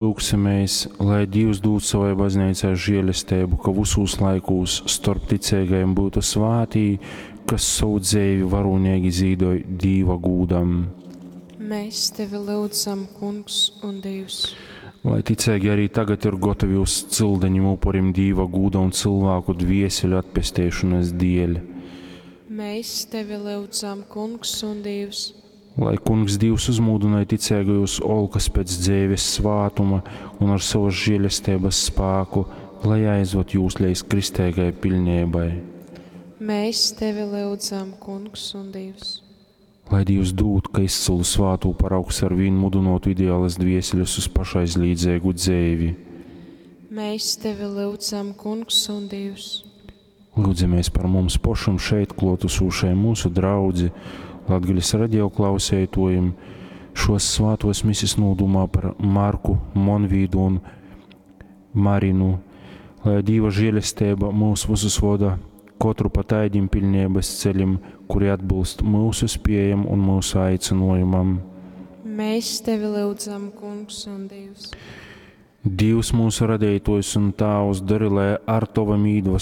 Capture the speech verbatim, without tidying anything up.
Lūgsimēs, lai Dīvs dūd savai bazneicai žēlesteibu, ka vysūs laikūs storp ticeigajim byutu svātī, kas sovu dzeivi varūneigi zīdoj Dīva gūdam. Mēs tevi lyudzam, Kungs un Dīvs. Lai ticeigi arī tagad ir gotovi uz cildenim upurim Dīva gūda un cylvāku dvieseļu atpesteišonys dieļ. Mēs tevi lyudzam, Kungs un Dīvs. Lai Kungs Dīvs uzmūdynoj ticeigajus olkas pēc dzeives svātuma un ar sovas žēlesteibas spāku, lai aizvad jūs leidz kristeigai piļneibai. Mēs tevi lyudzam, Kungs un Dīvs. Lai Dīvs dūd, ka izcylu svātū paraugs arvīn mudynuotu ideālas dvieseļus uz pašaizlīdzeigu dzeivi. Mēs tevi lyudzam, Kungs un Dīvs. Lūdzamies par mums pošim šeit kluotasūšajim mūsu draudzi, Latgales radio klauseituojim, šos svātos misis nūdūmā par Marku, Monvīdu un Marinu, lai Dīva žēlesteiba mūs visus voda, kotru pa taidim piļneibas ceļim, kuri atbilst mūsu spējam un mūsu aicinojumam. Mēs tevi lyudzam, Kungs un Dīvs. Dīvs mūsu radeitojs un Tāvs, dari, lai ar Tavam īdvesmu